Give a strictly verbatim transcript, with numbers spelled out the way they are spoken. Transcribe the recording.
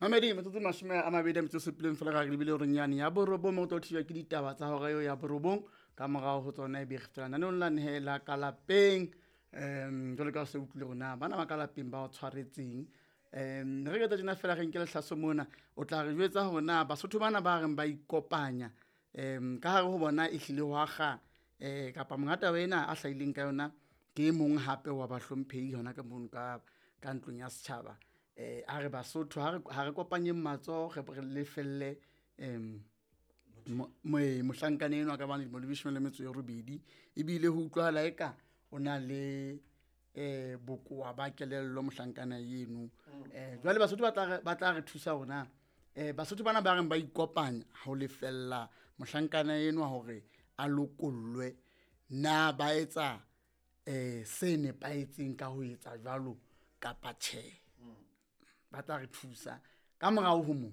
Mamedi, metsotso e mashome a mabedi a metso e supileng fela ka re lebile horeng yane ya borobong, mo tlo thijwa ke ditaba tsa hora eo ya borobong. Ka morao ho tsona e be re fetela naneong la nehela ka lapeng. Um jwalo ka ha o se utlwile hore na bana ba ka lapeng ba o tshwaretseng. Um re ka tjena fela re nke lehlaso mona, o tla re jwetsa hore na Basotho bana ba reng ba ikopanya um ka hare ho bona e hlile hwa kga um kapa monga taba ena a hlahileng ka yona ke e mong hape wa bahlomphehi hona ka mono ka, ka ntlong ya setjhaba. Eh a re Basotho ha re, ha re kopanyeng matsoho re re lefelle um mohlankana enwa ka bang dilemo di leshome le metso e robedi. Ebile ho utlwahala eka o na le eh bokowa ba kelello mohlankana eno. Eh jwale Basotho ba tla re, ba tla re thusa hore na eh Basotho bana ba reng ba ikopanya ho lefella mohlankana enwa hore a lokollwe, na ba etsa eh se nepahetseng ka ho etsa jwalo kapa tjhe? Ba tla re thusa ka morao ho mo.